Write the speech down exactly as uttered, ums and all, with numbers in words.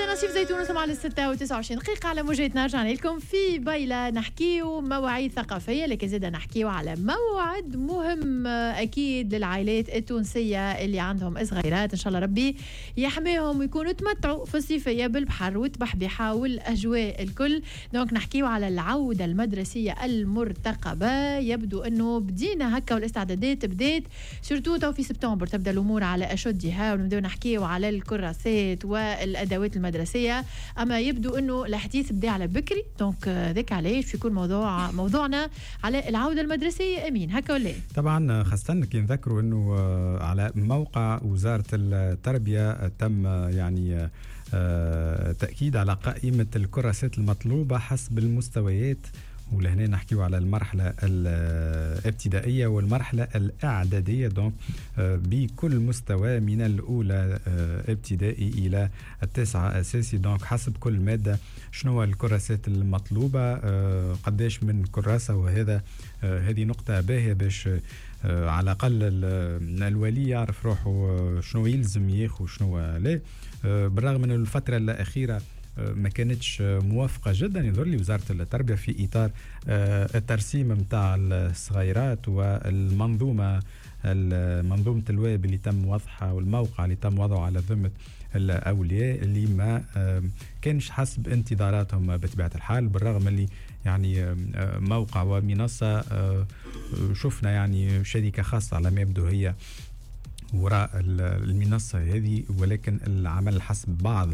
اذا نصيف زيتون وصل على ستة وتسعة وعشرين دقيقة على موجاتنا. رجعنا لكم في بايلا، نحكيو مواعيد ثقافيه، لكن زاد نحكيو على موعد مهم اكيد للعائلات التونسية اللي عندهم صغيرات، ان شاء الله ربي يحميهم ويكونوا تمتعوا في الصيفية بالبحر والتبحبيحه والاجواء الكل. donc نحكيو على العودة المدرسية المرتقبه. يبدو انه بدينا هكا والاستعدادات بدات، surtout تو في سبتمبر تبدا الامور على اشدها ونبداو نحكيو على الكراسات والادوات المدرسيه، اما يبدو انه الحديث بدا على بكري. donc ذاك علاش يكون موضوع موضوعنا على العودة المدرسيه. امين، هكا ولا؟ طبعا، خاصة كي نذكروا انه على موقع وزارة التربية تم يعني آه، تاكيد على قائمة الكراسات المطلوبة حسب المستويات، ولهنا نحكيو على المرحلة الابتدائية والمرحلة الإعدادية. donc آه، بكل مستوى من الأولى آه، ابتدائي إلى التاسعة أساسي، donc حسب كل مادة شنو الكراسات المطلوبة، آه، قداش من كراسة. وهذا هذه نقطة باهية باش على الأقل الولي يعرف روحه شنو يلزم ياخذ، شنو لا، بالرغم من الفترة الأخيرة ما كانتش موافقة جدا يظهر لي وزارة التربية في إطار آه، الترسيم نتاع الصغيرات والمنظومة، منظومة الويب اللي تم وضعها والموقع اللي تم وضعه على ذمة الأولياء، اللي ما كانش حسب انتظاراتهم بطبيعة الحال، بالرغم اللي يعني موقع ومنصة آه، شفنا يعني شركة خاصة على ما يبدو هي وراء المنصة هذه، ولكن العمل حسب بعض